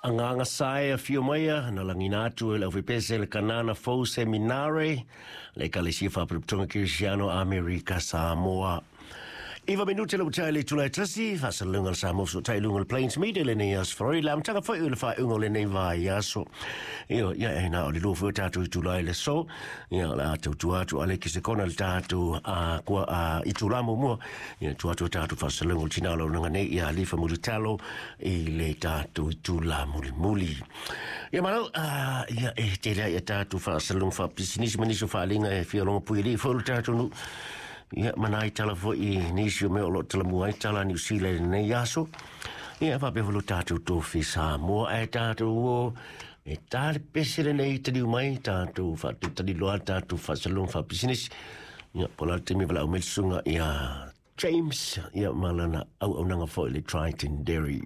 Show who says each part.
Speaker 1: Agaga sa e afio maia na lagina atu e le aufaipeese le Kanana Fou Seminare, le Ekalesia Faaputaputoga Kerisiano Amerika Samoa. Iva minute le ua le itula e tasi, faasalalauga a le Samoa fesootai i luga o le Plains Media i lenei aso Faraile, le amataga foi o le faaiuga o lenei vaiaso. Ioe, ia e na o le lua foi o tatou itula i le aso, ia o le a tautua atu a le kisekona le tatou a, kua, a, itula muamua, ia tua atu o tatou faasalalauga o le tina o le auaunaga nei ia Alifa Mulitalo i le tatou itula mulimuli. Ia malo, a, ia e tele ai a tatou faasalalauga faapisinisi ma nisi o faaaliga e fia logo pui alii foi o le tatou nuu. Ia, ma nai tala foi i nisi o mea o lo o talamua ai tala a Niu Sila i lenei aso. Ia, faapea foi lo tatou tofi Samoa ae tatou o e tā le pese lenei taliu mai, tatou faatalitali loa tatou faasalalauga faapisinisi. Ia, po o le a le taimi e valaau mai le susuga ia James, ia, ma lana auaunaga foi i le Triton Dairy.